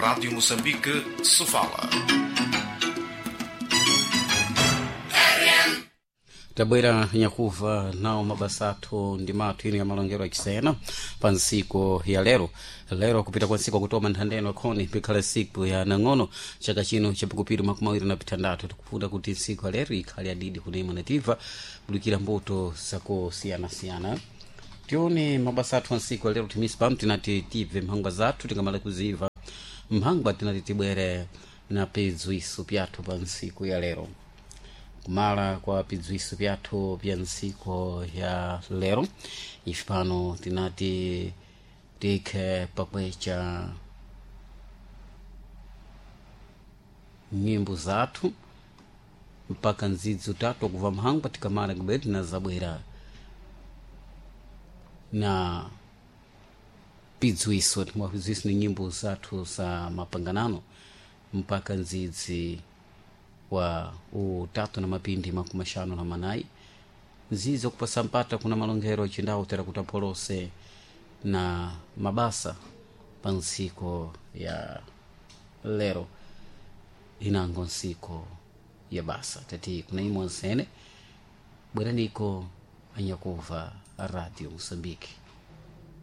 Rádio Moçambique, Sofala. Tabwera nyakuva nawo mabasa athu ndi mathu ino ya malongero achisena pa ntsiku ya lero. Lero kupita kwa ntsiku akutoma nthandeno akhoni pikhala siku ya nang'ono chaka chino chapikupiri 26. Tikufuna kuti ntsiku ya lero ikhale adidi kunema nativa kudukira mbuto zakusiyanasiyana. Tione mabasa athu a ntsiku ya lero timisi pano tinati tibve mphangwa zathu, tingamala kuziva mphangwa tinati tibwere na pidzwiso pyathu pa ntsiku ya lero. Kumala kwa pidzwiso pyathu pya ntsiku ya lero, ife pano tinati tikhe pakwecha nyimbo zathu mpaka ndzidzi utatu akuva mphangwa. Tikamala kubwera tinazabwera na pidzwiso, timwa pidzwiso ni nyimbo zathu za mapanganano mpaka ndzidzi wa utatu na mapindi 54, nzizo kupasa mpata kuna malongero achindawu tera kuti apolose na mabasa pa ntsiko ya lero, inango ntsiko ya basa. Tati kuna imwe nsene bweraniko anyakuva Radio Mosambiki.